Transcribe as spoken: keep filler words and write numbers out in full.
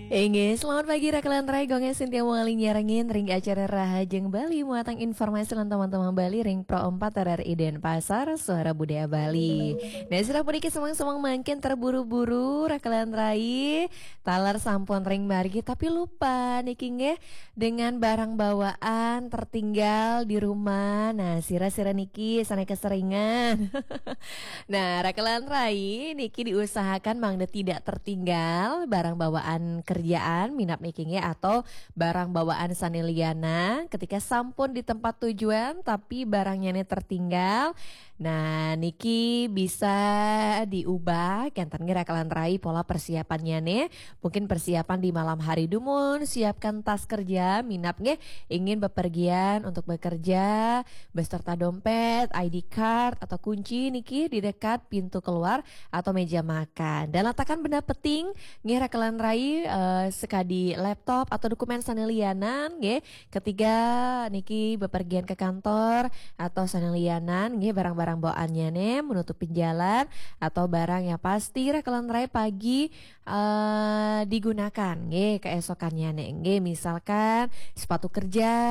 Inggih, selamat pagi Rakelan Rai, Gung Sintia Muali nyarengin ring acara Rahajeng Bali muatan informasi lan teman-teman Bali ring Pro empat R R I Denpasar, Suara Budaya Bali. Nah, sira puniki semeng-semeng mangkin terburu-buru Rakelan Rai, taler sampun ring margi tapi lupa niki nggih dengan barang bawaan tertinggal di rumah. Nah, sira-sira niki sane keseringan. Nah, Rakelan Rai niki diusahakan mangda tidak tertinggal barang bawaan kerjaan minab niki nggih atau barang bawaan sane liana ketika sampun di tempat tujuan tapi barangnya ne tertinggal. Nah, niki bisa diubah kenten nggih Rakelan Rai pola persiapannya ne. Mungkin persiapan di malam hari dumun, siapkan tas kerja minab nggih ingin bepergian untuk bekerja beserta dompet, I D card atau kunci niki di dekat pintu keluar atau meja makan. Dan letakkan benda penting nggih Rakelan Rai, eh, sekadi laptop atau dokumen sane lianan nggih. Ketiga niki bepergian ke kantor atau sane lianan nggih barang-barang bawaannya ne menutup jalan atau barang yang pasti Rakelan Rai pagi eh, digunakan nggih keesokannya ne nggih misalkan sepatu kerja